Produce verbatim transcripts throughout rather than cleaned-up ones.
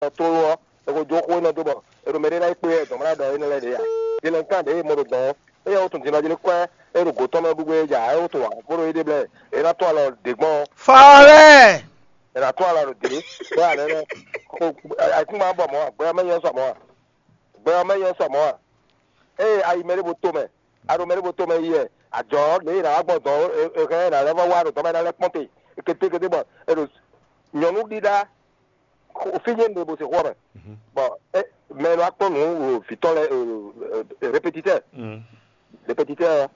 tlóló ɔ́, è ko jó xó énɛ́ dó bɔ è ɖo mɛ ɖé ná yi kpé wɛ dɔ̌n mlá ɖɔ énɛ́ lɛ́ɛ ɖě ǎ. Din lɛ́ɛ kan ɖě e mɔ ɖo dɔ̌n ɔ́, éyɛ́ wútu din ɔ́ jí ní kwɛ́ é ɖo gǒ tɔn mɛ ɖu gbé é ja, é wútu ǎ, bó ɖo yí ɖe blɛ́ è nǎ tún alɔ ɖě gbɔn ɔ́. Fɔlɛ́! È nǎ tún alɔ ɖě bɔ ǎ nɛ́nɛ́. Ayǐkúngban bɔ mɔ̌ ǎ, gbɛ ɔ́ mɛ nyɔ́ sɔ mɔ̌ ǎ. Gbɛ ɔ́ mɛ nyɔ́ sɔ mɔ̌ ǎ. Ée a yi mɛ ɖěvo tomɛ, a ɖo mɛ ɖěvo tomɛ yi wɛ, ajɔ̌ lě e è nǎ wá gbɔn dɔ̌n é hɛn ɛ nǎ lɛ́ vɔ́ wá ɖo dɔ̌n mɛ ná lɛ́ kpɔ́n te kete kete bɔ è ɖo nyɔ̌nu ɖíɖá fí nyé ɖe bó se xó ɔ́ mɛ. Bɔ mɛ e nɔ wá kpɔ́n nǔ vǐtɔ́ lɛ́ɛ répétitɛ́ répétitɛ́ ɔ́,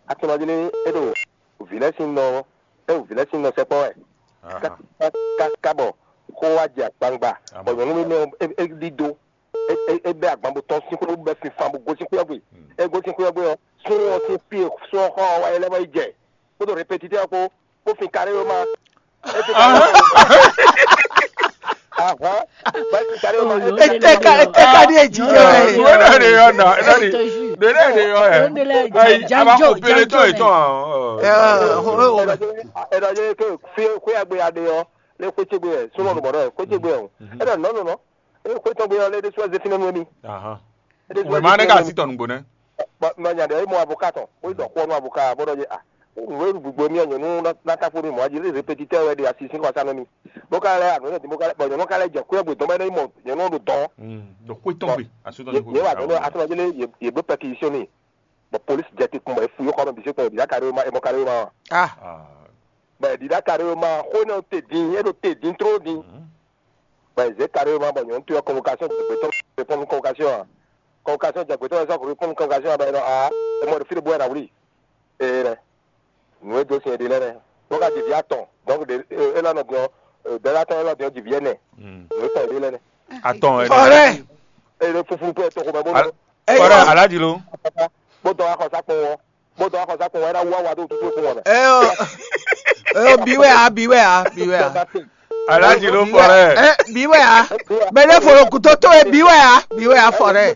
a tunɔ jí ní é ɖo vǐ lɛ́ɛ sín nɔ é ɖo vǐ lɛ́ɛ sín nɔ sɛkpɔ́ wɛ. Káká bɔ xó wá jɛ akpangba bɔ nyɔ̌nu énɛ́ ɔ́ é ɖídó. É bɛ́ agban bó tɔ́n sín xwé bó bɛ́ sinfan bó gosín xwé ɔ́ gbe. É gosín xwé ɔ́ gbe ɔ́, súnnu ɔ́ sín fí e súnnu ɔ́ xɔ ɔ́ wá é lɛ́ vɔ yi jɛ kpódó répétitɛ́ ɔ́ kpó bó fin karé ɔ́ má. É fin karé ɔ́ má. Ahán. Bá fin karé ɔ́ má. Eteka eteka ɖi eji jɛ wɛ. Wena ɖe yɔ na, ena ɖi. Ɖe ɖe ɖe yɔ ɛ. Ayi, a ma ko pele tɔ etɔn a. Ɛdɔ jɛ ke fi xwé agbe ya ɖe ɔ, lé xwé ce gbe ɛ, súnmọ́ nù bɔ̀dọ̀ ɛ, xwé ce gbe ɛ o. Ɛdɔ nɔ nɔ nɔ. Eye xwé tɔn gbe ɔ́ lé ɖésú wɛ zé fínɛ́ nú émí. Ahan. Wěma nɛ́ ka sí tɔn nǔgbó nɛ́. Bɔ nya ɖe é mɔ avoka tɔn, bó yi ɖɔ xó ɔ́ nú avoka ɔ́, bó ɖɔ jɛ a, nǔ e ɖu gbogbo émí ɔ́, nyɔ̌nu ná táfó nú mɔ̌ jí répétitɛ́ wɛ ɖe asi sín xɔsá nú mì. Bó ka lɛ́ anu énɛ́ din bó ka lɛ́ bɔ nyɔ̌nu ka lɛ́ jɛ xwé ɔ́ gbe dɔn bɔ é nɔ yi mɔ nyɔ̌nu ɔ́ ɖo dɔn. Ɖo xwé tɔn gbe, asú tɔn Yě yě wà nínú asúnɔjélé yě yě bló pɛkisíɔn n'i, bɔ polísi jɛ te kpɔn bɔ é fu yó xɔ mɛ bǐ sɛ́ kpɔn yě bǐ ká ɖó é ma é mɔ ká ɖó é ma wa. Ah. Bɔ yě ɖíɖá ká ɖó é ma xó énɛ́ ɔ́ te din, é ɖo te din tló din. Bɔ yě zě ká ɖó é ma bɔ nyɔ̌nu towe ɔ́ kɔnvokasiɔn jɛ gbětɔ́ répɔ́n nú kɔnvokasiɔn ǎ. Kɔnvokasiɔn jɛ gbětɔ́ wɛ sɔ́ répɔ́n nú kɔnvokasiɔn ǎ bɔ é ɖɔ aa é mɔ ɖo fí ɖé bó wɛ ná wlí. Ee nɛ. Nǔ e dó sin è ɖe lɛ́ɛ nɛ́. Bó ka ji vǐ atɔn, dɔnku ɖe élɔ́ nɔ din ɔ́, dɛ̌lá tɔn élɔ́ din ɔ́ ji vǐ ɛnɛ. Nǔ e tɔn è ɖe lɛ́ɛ nɛ́. Atɔn ɛ. Fɔlɛ. Eye ɖo funfun kpɛ tɔxo mɛ bó nɔ. Fɔlɛ alájí ló. Bó dɔn axɔsá kpɔn ɔ́, bó dɔn axɔsá kpɔn ɔ́, é ná wú awa ɖó tútú kpɔn ɔ́ mɛ. Ɛ ɔ, ɛ ɔ, bí wɛ a, bí wɛ a, bí wɛ a. Alájí ló fɔlɛ. Ɛ, bí wɛ a. Mɛ ɖé fɔlɔ kutó tó e bí wɛ a, bí wɛ a fɔlɛ.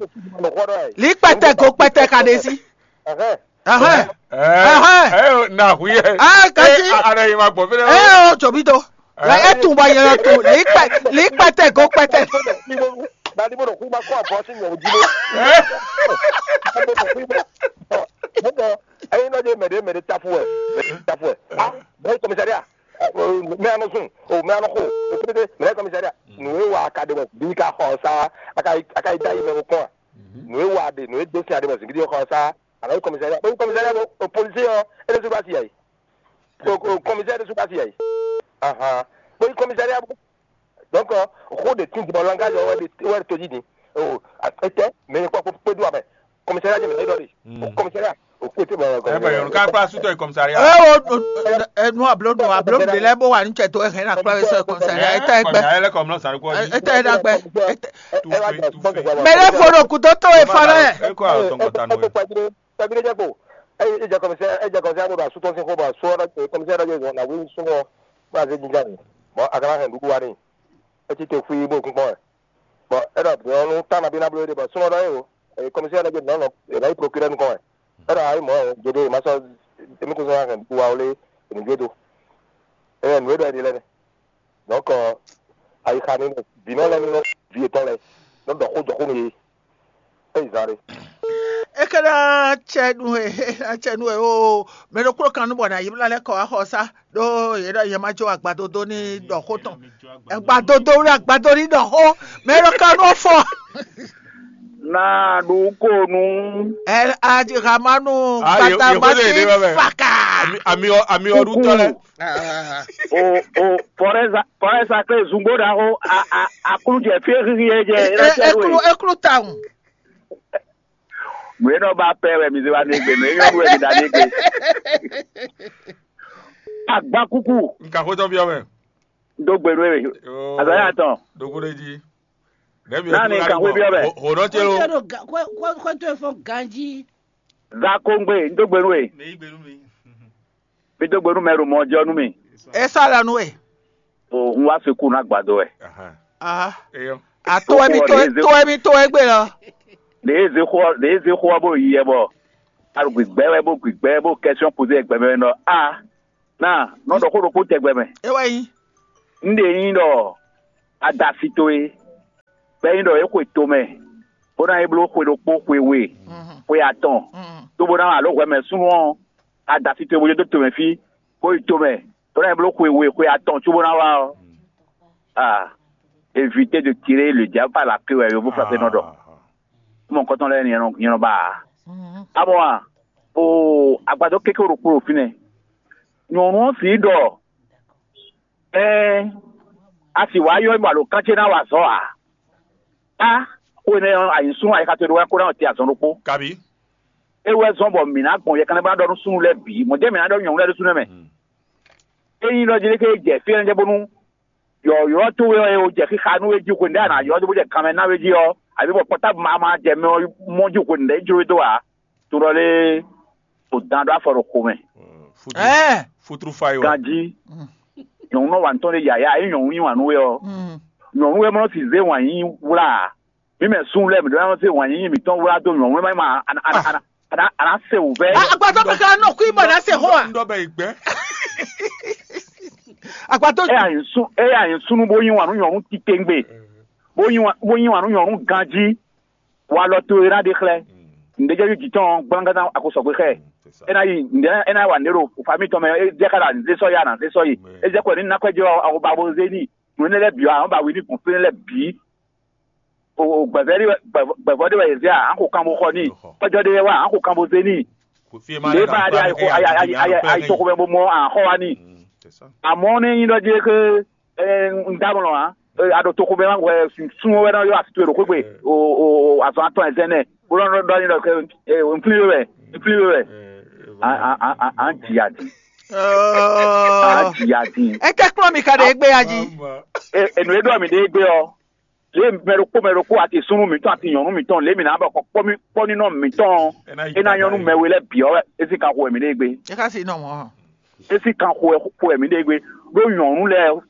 Lǐ kpɛtɛ ko kpɛtɛ ka ɖe sí. Ahɛn. Ɛhɛn. Ɛhɛn. Ɛ na hu yɛ. Ah, kasi. Ɛ, a- a ɖe yi ma gbɔ fi ɖe. Ɛ o tso bi do. Lɛ e tun bɔ yɛlɛ tun lǐ kpɛ lǐ kpɛtɛ go kpɛtɛ. Dadi bó ɖo kú bá kó àbọ̀ sí nyɔ̀wó jí bó. Dadi bó ɖo kú bá. Bó bọ̀ ẹyin náà dé mẹ̀dé mẹ̀dé tafu ẹ̀ mẹ̀dé tafu ẹ̀. Ah, bẹ́ẹ̀ kọmísárì à. Mɛ anɔ sun o mɛ anɔ xo o pété mɛ kɔmísárì à. Nù é wà á ka ɖe mɔ bí ká xɔ sá a ka yi da yi mɛ kɔn à. Nù é wà á ɖe nù é dó sin a ɖe mɔ zǐngídí xɔ sá. Alo komisariya, bóyá komisariya bó o policier ɔ́, é ɖésú bá si yǎ yi. O komisariya ɖésú bá si yǎ yi. Ahan. Bóyá komisariya bó. Donc, xó ɖe tín dibɔ langage ɔ́ wɛ ɖe wɛ ɖe tójí din. O etɛ mɛ kpɔ kpé dó amɛ. Komisariya jɛ mɛ ɖɔ ɖe. O komisariya o kpé tɛ bɔ. Ɛ bɛ yɔrɔ ká kpla sutɔ yi komisariya. Ɛ o nu ablo nu ablo de lɛ bó wà ní cɛ tó ɛ hɛn na kpla wɛ sɛ komisariya. Etɛ gbɛ. Etɛ ɖa gbɛ. Etɛ. Mɛ ɖe fo ɖo kutó tó e fa lɛ. Eko a tɔn kɔta nù. Tagbe ɖe jɛ kpo. Eye e jɛ kɔmɛsɛ e jɛ kɔmɛsɛ abo ɖo asu tɔn sín xó bɔ asu ɔ́ ɖɔ kɔmɛsɛ ɖɔ jɛ zɔn na wí súnmọ́ bó azé jínjɔ́n ni. Bɔ a ka ná hɛn nǔɖuɖu wa n'i. É cí te xwí bó kún kpɔ́n wɛ. Bɔ é ɖɔ nyɔ̌nu tá nabí ná bló é ɖe bɔ súnmọ́ ɖɔ é o. Eye kɔmɛsɛ ɖɔ jɛ nɔ́ nɔ è nǎ yi prokirɛ́ nukɔn wɛ. É ɖɔ ayí mɔ̌ ɔ́, jeɖé ma sɔ́ émí kún sɔ́ ná hɛn nǔɖuɖu wa wlé è nǐ jó do. Eye nǔ e ɖɔ è ɖe lɛ́ɛ nɛ. Donc, ayixa ni vǐnɔ lɛ́ɛ ní nɔ vǐ yětɔn lɛ́ɛ nɔ ɖɔ xó jɔ xó nú yě. É yi zan ɖé. É ka ná cɛ nú we, é ná cɛ nú we oo. Mɛ ɖokpó kan nú bɔ ná yi bla lɛ́ kɔ wá xɔ sá ɖó yě ɖɔ yě ma jó agbadodo ní ɖɔ xó tɔn. Agbadodo ní agbado ní ɖɔ xó. Mɛ ɖo kan nú fɔ. Na ɖu ko nu. Ɛ aji hamanu. Kata basi faka. Ami ami ɔɖu tɔ lɛ. O o fɔrɛza fɔrɛza kple zungbo ɖaxo a a aklu jɛ fie xixi yɛ jɛ. Eklu eklu tawun. Nue nɔ ba pɛ wɛ mi se wa ne gbe nue nyɔ wɛ mi da ne gbe. Agba kuku. Nka xotɔ biɔ mɛ. Do gbe nue. Azaya tɔn. Dogo ɖe jí. Nani nka xo biɔ mɛ. Hodɔ tse lo. Xɔtɔ efɔ ganji. Za kongbe n do gbe nue. Mi dó gbe nú mɛ ɖo mɔ jɔ nú mi. É sɔ́ alɔ nú we. O n wá fi kú ná gbàdo wɛ. Aha. Eyɔ. A tó wɛ mi tó wɛ mi tó wɛ gbé lɔ. Ɖe e zé xó ɖe e zé xó ɔ́ bó yi yɛ bɔ a ɖo gbigbɛ wɛ bó gbigbɛ bó kɛsiyɔn poze gbɛ mɛ nɔ a na nɔ ɖɔ xó ɖokpó tɛgbɛ mɛ. É wɛ nyí. N ɖe nyí ɖɔ a da asi towe. Bɔ é nyí ɖɔ é xwe tomɛ, bó ná yi bló xwe ɖokpó, xwe we, xwe atɔn, cóbó ná wa alǒ hwɛ mɛ súnnu ɔ́, adasi towe bó dó tomɛ fí, bó yi tomɛ, bó ná yi bló xwe we, xwe atɔn cóbó ná wa ɔ́, ah, éviter de tirer le diable par la queue wɛ yovó flafé nɔ ɖɔ. Mɔ nukɔntɔn lɛ́ɛ nyɛ nɔ ba ǎ. Amɔ a o agbadɔ kéké ɖokpó ɖo fínɛ́. Nyɔ̌nu ɔ́ sǐ ɖɔ ɛɛ a sì wǎ yɔ mì bɔ alǒkan ce ná wa azɔ̌ ǎ. Á xwe nɛ ɔ́, a nyi súnnu ayixa towe ɖó wɛ kó ná te azɔn ɖokpó. Kabi. É wɛ zɔ́n bɔ mǐ ná gbɔn yɛkanlɛ́ bó ná ɖɔ nú súnnu lɛ́ɛ bǐ, mɔ̌ jɛ́n mǐ ná ɖɔ nyɔ̌nu lɛ́ɛ ɖésú nɛ́ mɛ. Ényí ɖɔ jí ɖé ké jɛ fí énɛ́ jɛ bónú yɔ̌yɔ́ towe ɔ́ e o jɛ xixa nú we jí hwenu ɖé a nǎ ylɔ́ dó bó jɛ kanmɛ ná we jí ɔ́, abǐ bɔ pɔtábu ma ma jɛ mɛ ɔ́ mɔ jí hwenu ɖě jló we dó ǎ. To ɖɔ lé o dan ɖó afɔ ɖo xomɛ. Futru fa yi wɛ. Ganjí nyɔ̌nu nɔ wa nǔ tɔn ɖe yǎyá, ényí nyɔ̌nu yí wǎn nú we ɔ́, nyɔ̌nu wɛ mɔ nɔ si zé wǎn yíyí wlá ǎ. Mǐ mɛ sun lɛ́ɛ mǐ ɖó ná zé wǎn yíyí mǐtɔn wlá dó nyɔ̌nu wɛ má yi ma a nǎ se wǔvɛ́. Agbadɔ kaka nɔ kú ibɔ ná se xó a? Ŋɖɔ bɛ yi gbɛ. Agbadɔ. Eye a nyi sun eye a nyi sunnu bó yí wǎn nú nyɔ̌nu titewungbe, bó yí wǎn bó yí wǎn nú nyɔ̌nu ganjí, walɔ towe ná ɖe xlɛ́. Ǹdejɛ́jú jǐ tɔn gblángán a ko sɔgbe xɛ. É ná yi ǹdɛ é ná wa nǔɖé ɖo fami tɔn mɛ, é jẹ́ ká ɖo anǐ zé sɔ́ yi a nǎ zé sɔ́ yi. É jɛ kɔ ní ná kwɛ́ jɛ ɔ́, a ko ba bo zé n'i. Nǔ énɛ́ lɛ́ɛ bǐ ɔ́, a nǎ ba wi ní gbɔn fí énɛ́ lɛ́ɛ bǐ. O gbɛ̌vɛ́ ɖé wɛ gbɛ̌vɔ́ ɖé wɛ yě zé a, a nǎ xo kan bo xɔ n'i. Kpɛ́jɔ ɖé wɛ wá, a nǎ xo kan bo zé n'i. Lě ba ɖé ayi xo ayi ayi ayi ayi to xomɛ bo mɔ a nǎ xɔ wá n'i. Amɔ̌ nú é nyí ɖɔ jí é xé un dó amlɔ ǎ. A ɖo toxo mɛ wɛ sun wɛ nɔ ylɔ́ asi towe ɖo xwé gbe o o azɔn atɔn ɛzɛn nɛ bó nɔ ɖɔ n'i ɖɔ un flín we wɛ, un flín we wɛ. An ji adi. An ji adi. É kɛ kplɔ́n mi ka ɖe égbé ya jí. Enu e ɖɔ mi ɖe égbé ɔ́, lě mɛ ɖokpó mɛ ɖokpó ati súnnu mǐtɔn ati nyɔ̌nu mǐtɔn lě mǐ ná bɔ kpɔ́ mǐ kpɔ́ ní nɔ mǐtɔn é ná nyɔ́ nú mɛ we lɛ́ɛ bǐ ɔ́ wɛ é sín kan xo wɛ mǐ ɖe égbé. É ka si nɔ mɔ̌. É sín kan xo wɛ xo wɛ mǐ ɖe égbé. Ɖó nyɔ̌nu lɛ́ɛ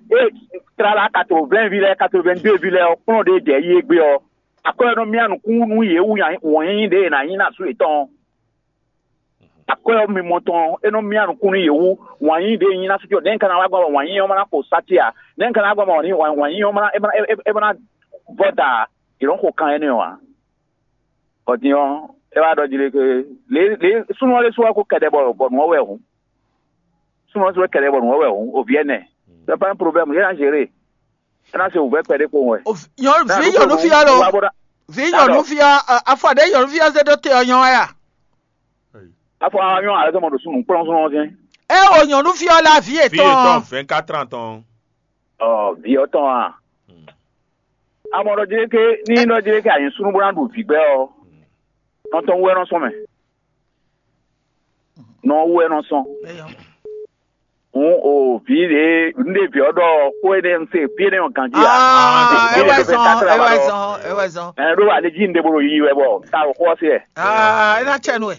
é tlala quatre-vingts ví lɛ́ɛ quatre-vingt-deux ví lɛ́ɛ ɔ́ kplɔ́n ɖě jɛ yi égbé ɔ́, akwɛ́ ɔ́ nɔ myá nukún nú yě wú wǎn yíyí ɖě è nǎ nyí ná sú yětɔn ɔ́. Akwɛ́ ɔ́ mimɔ tɔn ɔ́, é nɔ myá nukún nú yě wú. Wǎn yíyí ɖě nyí ná sú nɛ̌ un ka ná wá gbɔn bɔ wǎn yíyí ɔ́ ma ná xo sá ce a? Nɛ̌ un ka ná wá gbɔn bɔ wǎn yíyí ɔ́ ma ná é ma ná é ma ná vɔ́ da a? Yě nɔ́ xo kan énɛ́ ɔ́ ǎ. Bɔ din ɔ́, é wá ɖɔ jí lé ké lě lě súnnu ɔ́ lé sú wá kó kɛɖɛ bɔ bɔ nǔ ɔ́ wɛ hǔn. Súnnu ɔ́ sú wɛ kɛɖɛ bɔ nǔ ɔ́ wɛ hǔn. Ovi ɛnɛ. C'est pas un problème, yě ná géré. É ná se wǔvɛ́ kpɛɖé kpowun wɛ. Nyɔnu vi nyɔnu fi ɔ́ lo. Vi nyɔnu fi ɔ́ afɔ ɖe nyɔnu fi ɔ́ zé ɖó te ɔ́ nyɔ wɛ a? Afɔ anyɔ alɛ sɔmɔ ɖo sunu kplɔn sunu ɔ́ sɛn. É o nyɔnu fi ɔ́ la vi etɔn. Fi etɔn vingt-quatre ans tɔn. Ɔ vi ɔ́ tɔn a? Amɔ ɖɔ jɛ ke ní ɖɔ jɛ ke anyi sunu bó ná ɖu vǐgbɛ ɔ́, nɔ tɔn wú wɛ nɔ sɔn mɛ. Nɔ wú wɛ nɔ sɔn. Hǔn o vǐ ɖě un ɖe vǐ ɔ́ ɖɔ xó énɛ́ un se fí énɛ́ ɔ́ ganjí ǎ. Ah, é wɛ zɔn, é wɛ zɔn, é wɛ zɔn. Ɛ ɖó ale jí un ɖe bo ɖo yiyi wɛ bɔ ta o xó ɔ́ se ɛ. Ah, é ná tsɛ nú ɛ.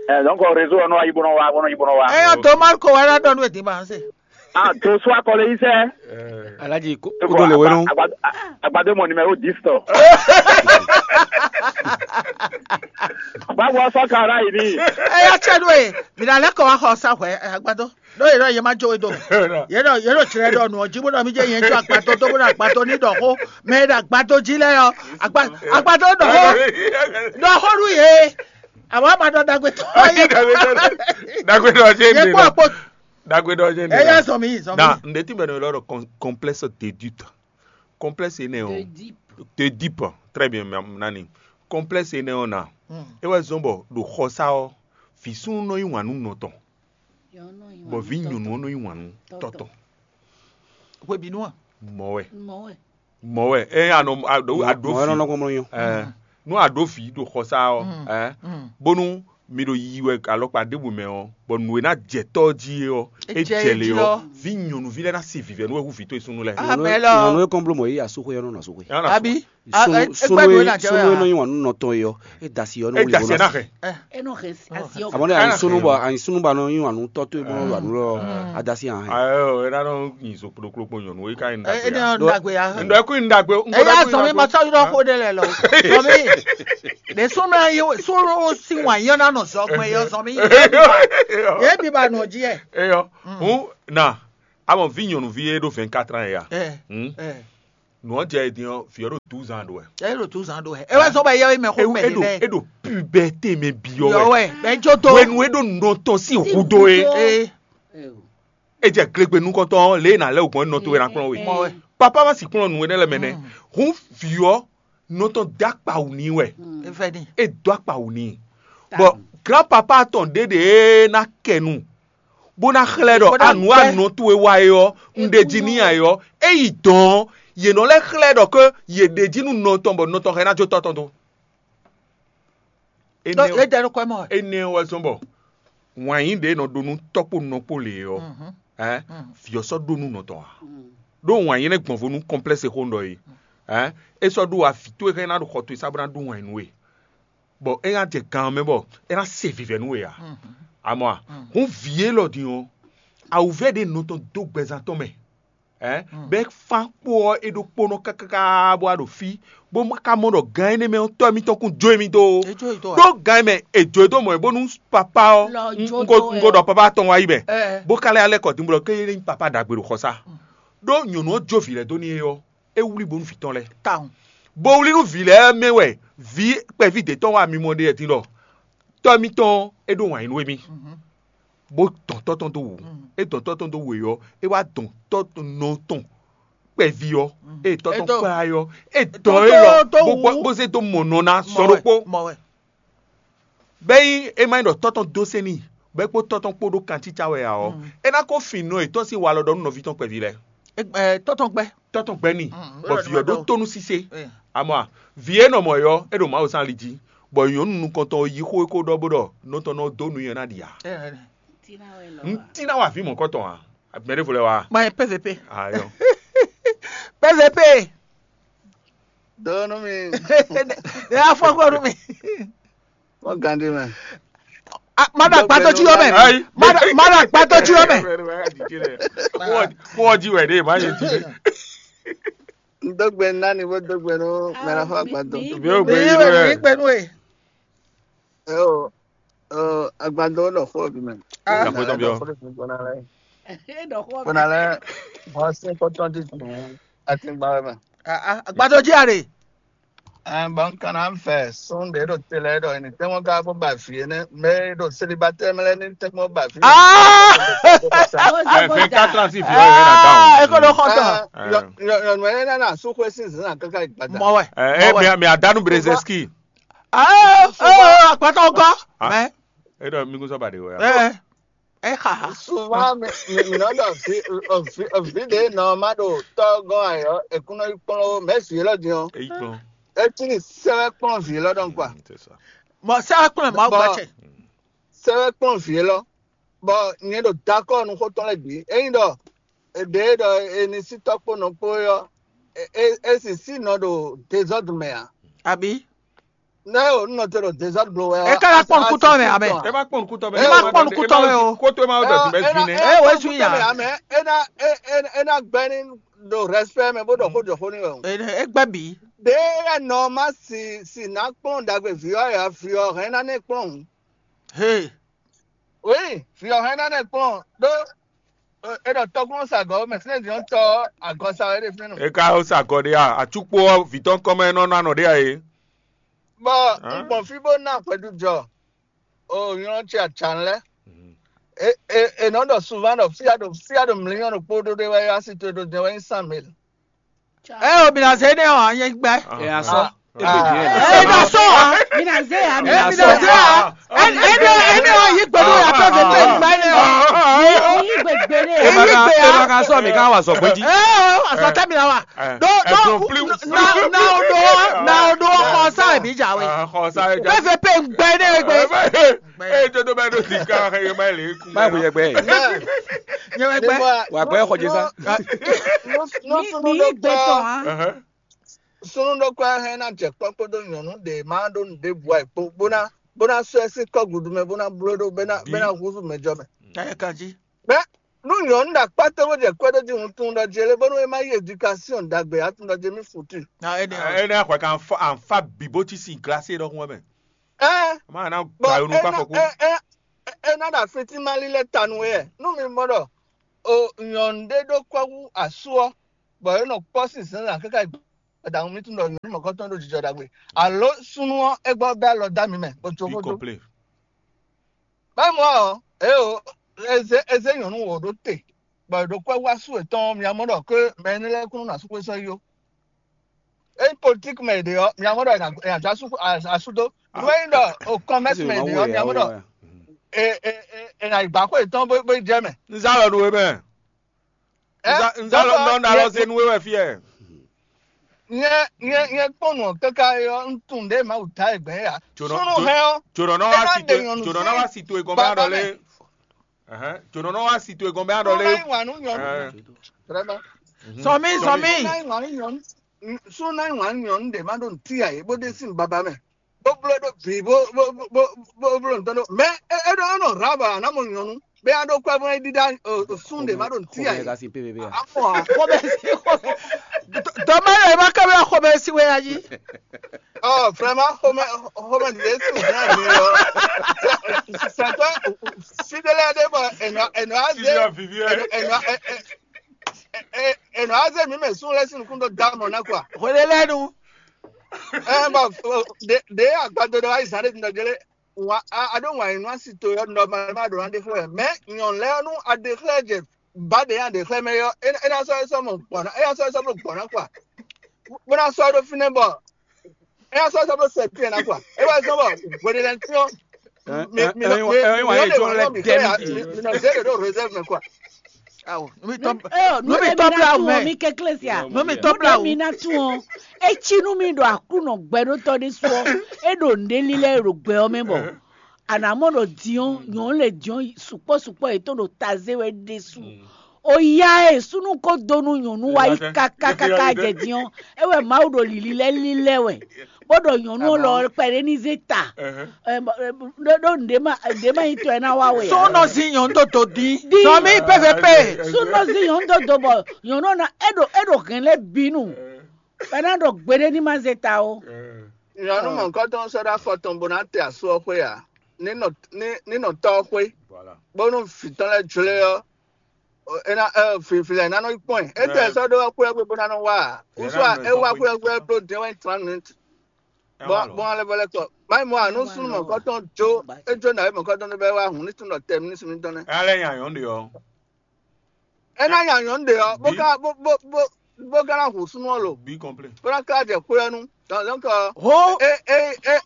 Ɛ donc réseau ɔ́ nɔ yi bó nɔ wá bó nɔ yi bó nɔ wá. Ɛ yɔ tó Marco wɛ ná ɖɔ nú ɛ dín ma se. Ah, tó sún akɔlɛ yí sɛ. Alaji kó kó tó lè wé nú. Agbadé mɔ numéro dix tɔ. Báwo sɔ kàrá yìí ni? Ɛ yá tsɛ nú ɛ, mi nà lɛ kɔ wá xɔ sa hwɛ agbadó. Ɖó yě ɖɔ yě má jó we do mɛ. Yě ɖɔ yě ɖɔ tsrɛ ɖɔ nǔ ɔ́ jí bó ɖɔ mí jẹ́ yẹn jó akpató tó bó ɖɔ akpató ní ɖɔ xó. Mɛ e ɖo akpató jí lɛ́ɛ ɔ́, akpató ɖɔ xó ɖɔ xó nú yě. Àwọn àmàdàn dàgbé tó. Dàgbé tó ṣe é dè lọ. Dàgbé tó ṣe é dè lọ. Ẹ yá zọ mi zọ mi. Na ǹdẹ́tí bẹ̀rẹ̀ lọ́rọ̀ complexe de doute. Complexe énɛ́ ɔ́. D'Oedipe. Très bien, nani. Complexe énɛ́ ɔ́ na. É wɛ zɔ́n bɔ ɖo xɔsá ɔ́, vǐ súnnu nɔ yí wǎn nú nɔ tɔn. Bɔ vǐ nyɔ̌nu ɔ́ nɔ yí wǎn nú tɔ́ tɔn. Hwebǐnu a? Mɔ̌ wɛ. Mɔ̌ wɛ. Ɛ anɔ aɖo aɖo fi. Ɛ nú aɖo fi ɖo xɔsá ɔ́, ɛ bónú mi ɖo yiyi wɛ alɔkpa ɖěbǔ mɛ ɔ́, bɔ nǔ e ná jɛ tɔ́ jí é ɔ́, é jɛ lě ɔ́, vǐ nyɔ̌nuví lɛ́ɛ ná se vǐvɛ́ nú wɛ hú vǐ towe súnnu lɛ́ɛ. Nyɔ̌nu e kɔn bló mɔ yí asúxwé ɔ́ nɔ nɔ asúxwé. Abi. Súnnu e nɔ yí wǎn nú nɔ tɔn é ɔ́, é da asi ɔ́ nú wuli bó nɔ. Amɔ̌ ne a nyi súnnu bɔ a nyi súnnu bɔ a nɔ yí wǎn nú tɔ́ towe bó nɔ wǎn nú lɔ a da asi hàn. Ayo, e na nɔ nyi zo kplokplo kpo nyɔnu e ka nyi ndagbe. Ndɔ eku nyi ndagbe. Eya zɔn mi ma sɔ yɔrɔ ko ɖe lɛ lɔ. Zɔn mi. Ɖe súnnu yi súnnu si wǎn yɔ na nɔ zɔ gbɛ yɔ zɔn mi. Ye bi ba nɔ ji yɛ. Eyɔ. Hun na. Amɔ vi nyɔnuvi ye ɖo vingt-quatre ans ya. Nǔ ɔ́ jɛ e din ɔ́, vǐ ɔ́ ɖo douze ans ɖo wɛ. Ɛ ɖo douze ans ɖo wɛ. É wá zɔ́n bɔ yɛwé mɛ xó mɛ ɖé lɛ́ɛ. É ɖo puberté mɛ byɔ́ wɛ. Yɔ wɛ. Bɛ jó tó. Hwenu e ɖo nɔ tɔn sín hudó é. Ee. É jɛ glegbe nukɔntɔn ɔ́, lě e nǎ lɛ́ wǔ gbɔn nɔ towe ná kplɔ́n we. Mɔ wɛ. Papa ma sì kplɔ́n nǔ énɛ́ lɛ́ɛ mɛ nɛ́. Hǔn vǐ ɔ́, nɔ tɔn dó akpawǔ n'i wɛ. É fɛ ní. É dó akpawǔ n'i. Bɔ grand papa tɔn ɖěɖě e ná kɛ nu bó ná xlɛ́ ɖɔ Bó ná anǔ gbɛ́. Anɔ towe wa é ɔ́, un ɖe jí n'i ǎ é ɔ́, é yi dɔ̌n ɔ́, yě nɔ lɛ́ xlɛ́ ɖɔ ké yě ɖe jí nú nɔ tɔn bɔ nɔ tɔn hɛn ná jó tɔ́ tɔn dó. Ɖó Énɛ́ yě jɛ nukɔn mɔ. Énɛ́ wɛ zɔ́n bɔ wǎn yí ɖě nɔ ɖó nú tɔ́ kpó nɔ kpó lě ɔ́, vǐ ɔ́ sɔ́ ɖó nú nɔ tɔn ǎ. Ɖó wǎn yí nɛ́ gbɔn vo nú kɔnplɛ́si xó un ɖɔ é. É sɔ́ ɖó wǎ vǐ towe hɛn ná ɖo xɔ towe sá bó ná ɖó wǎn yí nú we. Bɔ é ná jɛ gan ɔ́ mɛ bɔ é ná se vǐvɛ́ nú we ǎ. Amɔ a, hǔn vǐ élɔ́ din ɔ́, awǔvɛ́ ɖě nɔ tɔn dó gbɛzán tɔn mɛ, bɛ́ fán kpó ɔ́ é ɖokpónɔ káká bó wá ɖo fí, bó ma ka mɔ ɖɔ gan énɛ́ mɛ ɔ́, tɔ́ émítɔn kún jó émí dó ó. Ɖó gan e mɛ è jó e dó mɔ̌ é bónú papá ɔ́, un ko ɖɔ papá tɔn wá yi mɛ, bó ka lɛ́ alɛ kɔ din bó ɖɔ ké é nyí papá ɖagbe ɖo xɔsá. Ɖó nyɔ̌nu ɔ́ jó vǐ lɛ́ɛ dó n'i é ɔ́, é wlí bónú vǐ tɔn lɛ́ɛ. Bó wlí nú vǐ lɛ́ɛ mɛ wɛ vǐ kpɛví d'é tɔn wá mimɔ ɖe wɛ din ɖɔ tɔ́ mitɔn é ɖó wǎn yí nú émí, bó dɔn tɔ́ tɔn dó wǔ. É dɔn tɔ́ tɔn dó wǔ é ɔ́, é wá dɔn tɔ́ nɔ tɔn kpɛví ɔ́, ée tɔ́ tɔn kplá é ɔ́, é dɔn é lɔ bó zé dó mɔ nɔ ná sɔ ɖokpó. Bɛ́ nyí é má nyí ɖɔ tɔ́ tɔn dó sɛ́n n'i, bɔ é kpó tɔ́ tɔn kpó ɖó kancícá wɛ ǎ ɔ́, é ná ko fin nɔ yětɔn sín walɔ ɖɔ nú nɔví tɔn kpɛví lɛ́ɛ. Tɔ́ tɔn gbɛ́. Tɔ́ tɔn gbɛ́ n'i, bɔ vǐ ɔ́ ɖó tónú sísé. Amɔ a, vǐ e nɔ mɔ ɔ́, é ɖo Mawu zán ali jí, bɔ nyɔ̌nu nukɔntɔn ɔ́ yí xó e ko ɖɔ bó ɖɔ nɔ tɔn nɔ dó nú nyɛ ná ɖi ǎ. Un tín ná wa vǐ mɔ̌kɔtɔn ǎ. Mɛ ɖěvo lɛ́ɛ wá. Ma nyɛ P V P. Ayɔ. P V P. Dó nú mi. Ne afɔ kɔ nú mi. Wọ́n gan dé mẹ́. Má ɖo agbátɔ jí yɔ mɛ. Má ɖo agbátɔ jí yɔ mɛ. Kó jí wɛ ɖe má yé jí. N dó gbe nú nani bó dó gbe nú mɛ ná fɔ agbátɔ. Mi ò gbé yí wɛ. Gbé nú e. Ɛ o, agbátɔ lɔ fɔ bi mɛ. Agbátɔ bi ɔ. Kpɔnalɛ, bɔn se kɔtɔn ti tun atingba wɛ mɛ. Agbátɔ jí are. Ɛn bɔn kana n fɛ sun ɖe ɖo te lɛ ɖɔ ni tɛmɔ ka bɔ ba fi ne mɛ ɖo selibatɛ mɛ lɛ ni tɛmɔ ba fi. Ɛ fɛn ka tlan si fi ɔ yɛ na da o. Eko ɖo xɔ tɔ. Nyɔnu yɛ nana su xwe sin zan kaka gbada. Mɔ wɛ. Ɛ mɛ mɛ adanu brezɛski. Agbátɔ kɔ. Mɛ. E ɖɔ mi kún sɔ ba de o ya. Ɛ ɛ xa. Souvent mi mi mi nɔ ɖɔ vi vi vi ɖe nɔ ma ɖo tɔ gɔn ayɔ ekunɔ yi kplɔn o mɛ vi lɔ din o. Eyi kplɔn. Eti ni sɛwɛ kplɔn vi lɔ dɔn kwa. Mɔ sɛwɛ kplɔn ma gba cɛ. Sɛwɛ kplɔn vi lɔ bɔ nyɛ ɖo dakɔ nu xó tɔn lɛ gbi eyin ɖɔ ɖe ɖɔ eni si tɔ kpo nɔ kpo yɔ e e si si nɔ ɖo dezɔdru mɛ a. Abi. Ne o nɔ te ɖo dezɔdru wɛ. E ka na kpɔn nukutɔ mɛ amɛ. E ma kpɔn nukutɔ mɛ. E ma kpɔn nukutɔ mɛ o. Koto e ma ɖɔ ti bɛ vi nɛ. E wɛ zu ya. Amɛ e na e e e na gbɛ ni ɖo respect mɛ bó ɖɔ xó jɔ xó ni wɛ o. E gbɛ bi. Ɖe ya nɔ ma si si na kplɔn dagbe vi ɔ ya vi ɔ hɛn na ne kplɔn. He. Oui, fi ɔ hɛn na ne kplɔn ɖó e ɖɔ tɔkplɔn sa gɔ̌ mɛ sinɛ din tɔ agɔ sa wɛ ɖe fínɛ́ nɔ. E ka sa gɔ́ ɖé a? Atsukpo ɔ́ vǐ tɔn kɔn mɛ nɔ ná nɔ ɖé a é? Bɔ un gbɔn fí bó ná hwɛɖujɔ o nylɔ ce acan lɛ́ɛ. E e e nɔ ɖɔ souvent ɖɔ fia ɖo fia ɖo mlínyɔ́ ɖokpó ɖó ɖé wɛ yá sí to ɖo jɛ wɛ nyí cent mille. Ɛ o, mi na zé nɛ o, an yɛ gbɛ. Ɛ a sɔ. Ɛ na sɔ. Mi na zé ya, mi Ɛ na mi sɔ. Na zé ya. Ɛ ɛ ne ɛ ne o yi gbɛdo ya fɛ fɛ fɛ gbɛ ne o. Yi gbɛgbɛ ne. Ɛ ma ka ɛ ma ka sɔ mi ka wa sɔ gbɛji. Ɛ o, a sɔ tɛ mi la wa. Do do na na o do na o do xɔ sa mi ja we. Xɔ sa ja. Fɛ fɛ pe gbɛ ne gbɛ. Ee, tó tó bá dó ti ká ẹ má lè kú. Báyìí kò yẹ gbẹ. Nyɛ wɛ gbɛ. Wà gbẹ xɔ jésà. Mi mi gbɛ tɔn ha. Sunu ɖokpó hɛn ná jɛ kpɔ́ kpódó nyɔ̌nu ɖe má ɖó nǔɖé bu ayǐ kpó bó ná bó ná sɔ́ ɛ sín kɔ́ gudu mɛ bó ná bló ɖó bó ná bó ná húzú mɛ jɔ mɛ. Ɛ kan jí. Bɛ nú nyɔ̌nu ɖo akpá tɔn bó jɛ kwɛ́ ɖó jí hun tun ɖɔ jɛ lé bónú é má yí éducation ɖagbe ǎ tun ɖɔ jɛ mí futu. Na ɛ ní Ɛ ní axɔ kan fa anfa bǐ bó cí sin glacé ɖɔhun wɛ mɛ. Ɛ Má ná bɔ gba yonu é kpá ná fɔkú. É é é ná ɖo afi tí má lílɛ́ ta nú we ɛ nú mi mɔ ɖɔ o nyɔ̌nu ɖé ɖó kwɛ́ hú asú ɔ́ bɔ é nɔ kpɔ́ sín zǎnzǎn káká yi gbadanu mì tunwun ɖɔ nyɔ̌nu mɔ̌kɔtɔn ɖo jijɔ ɖagbe. Alo súnnu ɔ́, é gbɔ bɛ́ alɔ dó ami mɛ bó jó xó dó. Báyìí mɔ ɔ́, é o, é zé é zé nyɔ̌nu wǒ ɖó te, bɔ è ɖo kwɛ́ wá sú yětɔn ɔ́, mi mɔ ɖɔ ké mɛ énɛ́ lɛ́ɛ kún nɔ asúkpé sɔ́ yi ó. Ényí politíki mɛ è ɖe ɔ́, mi mɔ ɖɔ è nǎ dó asú dó. Nú é nyí ɖɔ o kɔmɛ́si mɛ è ɖe ɔ́, mi mɔ ɖɔ è nǎ yi gbǎ xwé yětɔn bó yi jɛ mɛ. Un zá lɔ nú we mɛ. Un zá lɔ nɔ ɖo alɔ zé nú we wɛ fí ɛ. Nyɛ nyɛ nyɛ kpɔ́n nǔ ɔ́ káká é ɔ́, un tunwun ɖě Mawu ta e gbɛn é ǎ. Súnnu hɛn ɔ́, jǒnɔ nɔ wá si to jǒnɔ nɔ wá si to e gɔn bá ɖɔ lé. Jǒnɔ nɔ wá si to e gɔn bá ɖɔ lé. Súnnu ná yi wǎn nú nyɔ̌nu. Sɔmí sɔmí. Súnnu ná yi wǎn nú nyɔ̌nu ɖě má ɖo nǔtí ǎ é bó ɖe sín baba mɛ. Bó bló ɖó bǐ bó bó bó bó bó bló nǔtɔn ɖó. Mɛ é é ɖó é nɔ rǎ bɔ a nǎ mɔ nyɔ̌nu. Bɛ a ɖó kwɛ bó é ɖíɖá sún ɖě má ɖo nǔtí ǎ é. Xomɛ ka sin pépépé a. Akɔ a. Xomɛ si xomɛ. Dɔmɛ yɛ ma kɛ bɛ xomɛ si wɛ ayi. Ɔ vraiment xomɛ xomɛ ɖě si wɛ ayi ɔ. Sɛtɔ si ɖé lɛ ɖé bɔ ɛnɔ ɛnɔ azé ɛnɔ ɛnɔ azé mi mɛ sún lɛ sí nukún ɖó dá mɔ ná quoi. Xwele lɛnu. Ɛn bɔ ɖe ɖe agbado ɖe wa yi zan ɖe tundɔ jele. Wa a a ɖo wǎn yi nú asi to yɔ nɔ ma ma ɖo na ɖe xlɛ mɛ nyɔn lɛ nú a ɖe xlɛ jɛ ba ɖe ya ɖe xlɛ mɛ yɔ e na sɔ e sɔ mɔ gbɔn na e na sɔ e sɔ mɔ gbɔn na kua bó na sɔ ɖo fínɛ́ bɔ e na sɔ e sɔ mɔ sɛ piɛ na kua e wá sɔ bɔ hweɖelɛntíɔ mi mi mi mi mi mi nɔ zé ɖe ɖo réserve mɛ kua. Awo, nu mi tɔ nu mi tɔ bla mɛ. Mi kekle sia. Nu mi tɔ bla mi na tún ɔ. Etsi nu mi ɖo aklunɔ gbɛɖotɔ ɖé su ɔ. E ɖo nɖe lílɛ ɖo gbɛ ɔ mɛ bɔ anamɔ ɖo diɔn nyɔnu le diɔn sukpɔ sukpɔ yetɔn ɖo taze wɛ ɖe su. O ya e sunu ko do nu nyɔnu wa yi kaka kaka jɛ diɔn. E wɛ Mawu ɖo lili lɛ lílɛ wɛ. Bó ɖɔ nyɔnu lɔ kpɛɖé ní zé ta. Ɖó ɖó nɖé ma nɖé ma nyí tɔ ɛ ná wá wɛ. Sɔ́ nɔ zin nyɔ̌nu dó dǒ dín. Sɔ mí pépépé. Sɔ́ nɔ zin nyɔ̌nu dó dǒ bɔ nyɔ̌nu ɔ́ ná é ɖo é ɖo hɛn lɛ́ɛ bínú. Bɔ é ná ɖɔ gbeɖé ní ma zé ta ó. Nyɔ̌nu mɔ̌hunkɔtɔn sɔ́ ɖó afɔ tɔn bó ná te asú ɔ́ xwé ǎ. Ní nɔ ní ní nɔ tɔ́ ɔ́ xwé. Bónú vǐ tɔn lɛ́ɛ jlé ɔ́, é ná ɛ fǐflɛ́ ná nɔ yi kpɔ́n ɛ. Étɛ́ sɔ́ ɖó xwé ɔ́ xwé bó ná nɔ wá ǎ. Wúsú é wá xwé ɔ́ xwé ɔ́ bló dɛ́n wɛ́ trente minutes. Bɔn bɔn alɛ vɔ lɛ kɔ mayi mɔ anu súnnu mɔkɔtɔn jó ejó nǎwe mɔkɔtɔn ɖé bɛ wá hun ní tún ɖɔ tɛ mí ní súnnu tɔn nɛ́. Alɛ nya yɔn ɖe ɔ. É ná nya nyɔ̌nu ɖe ɔ bó ka bó bó bó bó ka ná hun súnnu ɔ́ lo. Bí kɔnplé. Bó ná ka jɛ xwé ɔ́ nu. Donc donc Ho. E e e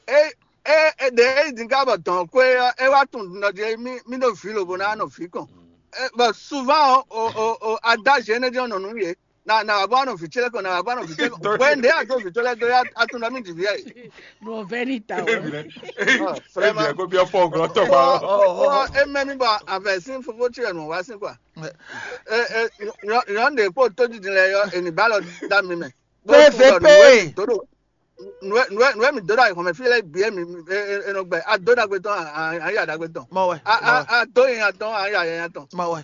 e e e ɖe e yi din ka bɔ dɔn xwé ɔ́ é wá tún nɔ jí mí mí ɖo vǐ lobo ná nɔ vǐ kɔn. Bɔn souvent o o o adájí énɛ́ jɛ́n nɔ nǔ yě. Na na wà bɔ anɔ vǐ ce lɛ kɔ na wà bɔ anɔ vǐ ce lɛ kɔ. Wɛ ndé a do vǐ ce lɛ do ya a tún nɔ mí dzi vǐ yɛ. Ɖo vɛ ní ta o. Ebi lɛ ebi lɛ ko biɔ fɔ glɔ tɔ kpa. Ɔ e mɛ mi bɔ avɛ sín fofó ce yɛ nù wá sí kɔ. Nyɔ ɖe kpó tó didi lɛ yɔ ènì bá lɔ dá mi mɛ. P V P. Nú ɛ mi dó ɖo ayǐhɔ́n mɛ fí lɛ́ɛ bǐ e mi e nɔ gbɛ a dó ɖagbe tɔn a yǎ ɖagbe tɔn. Mɔ wɛ. A a a dó nyanya tɔn a yǎ nyanya tɔn. Mɔ wɛ.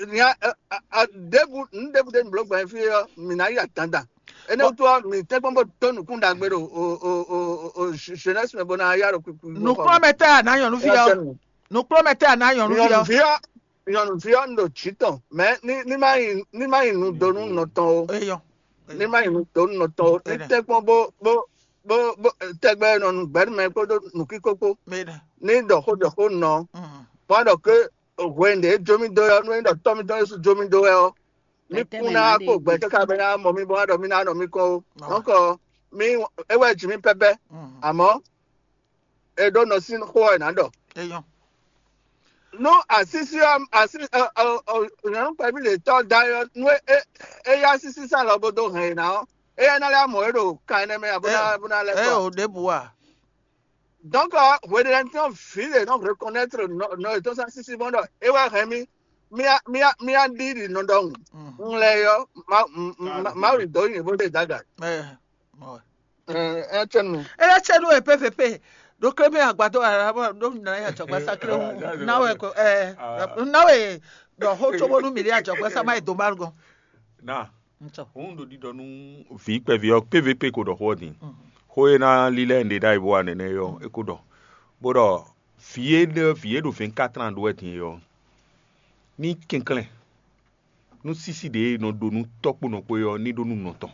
Nya a a ɖěbǔ nǔ ɖěbǔ ɖé mi bló gbɔn fí ɔ́ mi ná yǎ dandan. Énɛ́ wútu ɔ́ mi tɛ́nkpɔ́n bó dó nǔkún ɖagbe ɖo o o o o jeunesse mɛ bó ná yá ɖo kúkú. Nǔkplɔ́nmɛ tɛ́ a nǎ nyɔ̌nu fí ɔ́? Nǔkplɔ́nmɛ tɛ́ a nǎ nyɔ̌nu fí ɔ́? Nyɔ̌nu fí ɔ́ nyɔ̌nu fí ɔ́ un ɖo jǐ tɔn mɛ ní ní má nyi ní má nyi nu dó nú nɔ tɔn o. Eyɔ. Ní má nyi nu dó nú nɔ tɔn o. Ní tɛ́nkpɔ́n bó bó bó bó tɛgbɛ nɔ nu gbɛ̌ nú mɛ kpódó nǔkíkó kpó. Ní ɖɔ xó ɖɔ xó nɔ. Bó wá ɖɔ ké hwenu ɖě jó mì dó wɛ ɔ́, nú é ɖɔ tɔ́ mì tɔn Jezu jó mì dó wɛ ɔ́, mì kún ná wá kpo gbɛ káká bɔ é ná mɔ mì bɔ é ná ɖɔ mì ná nɔ mì kɔn ó. Nɔ́kɔ mì é wɛ jǐ mì pɛ́pɛ́, amɔ̌ è ɖó nɔ sín xó ɔ́ è nǎ ɖɔ. Nú asísí ɔ́ así nyɔ̌nu kpɛví lě tɔ́ da é ɔ́, nú é é yá sísí sán lɔ bó dó hɛn è nǎ ɔ́, éyɛ́ ná lɛ́ mɔ é ɖo kan énɛ́ mɛ ǎ bó ná bó ná lɛ́ kɔ. Ɛ ò ɖěbǔ a? Donc hweɖelɛntɔ́ vǐ ɖe nɔ reconnaître nɔ yětɔn sín asísí mɔ ɖɔ é wɛ hɛn mì mía mía mía ɖi ɖi nɔ ɖɔhun. Un lɛ yɔ Mawu dó nyi bó ɖe daga. Ɛ ɛ cɛnu. Ela cɛnu e P V P ɖo kle mɛ agbadɔ ara bɔ ɖo na ya jɔgba sa kle wu na wɛ ko ɛ na wɛ ɖɔ xo tso bónú mi ɖe ajɔgba sa ma yi do ma gɔn. Na Ŋutɔ. Òun ɖo ɖiɖɔ nú vǐ kpɛví ɔ́ P V P ko ɖɔ xó ɔ́ din. Xó e ná lílɛ́ un ɖe ɖ'ayǐ bó wa nɛnɛ é ɔ́, é ko ɖɔ, bó ɖɔ vǐ e ɖe vǐ e ɖo vingt-quatre ans ɖó wɛ din é ɔ́, ní kɛnklɛ́n. nú sísí ɖě e nɔ ɖó nú tɔ́ kpó nɔ kpó é ɔ́ ní ɖó nú nɔ tɔn.